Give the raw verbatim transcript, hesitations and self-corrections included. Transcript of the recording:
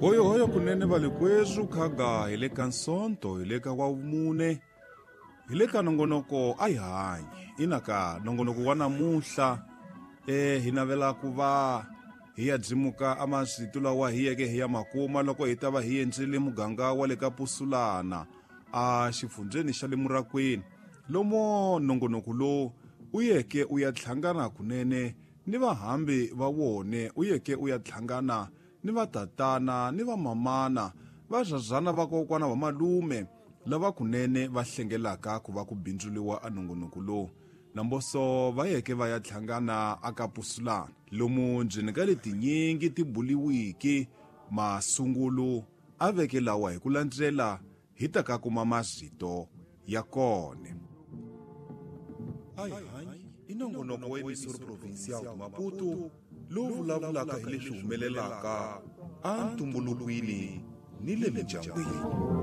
Hoyohoyo kunene valikweswu khaga hi le ka Nsonto hi le ka Wavumune hi le ka nongonoko a hi hanyi ina ka nongonoko wa namuntlha e hi navela ku va hi ya dzimuka a masitu lawa hi yeke hi ya makuma loko hi ta va hi endzile muganga wa le ka Pusulana a xifundzeni xa le Murakwini lomo nongonoko lowu u yeke u ya tlhangana kunene ni vahambi va wone u yeke u ya tlhangana ni vatatana ni vamamana vazazana vakokwana va malume lava kunene va hlengelaka ku va ku bindzuliwa a nongonoko lowu namboso va yeke va ya tlhangana aka Pusulana lomu ndzeni ka letinyingi ti buliwiki masungulu a veke lawa hi ku landzela hi ta ka kuma mazito ya kone. Ayi i nongonoko wa Emissora Provincial de Maputo lowu vulavulaka hi leswi humelelaka a ntumbulukwini ni le mindyangwini.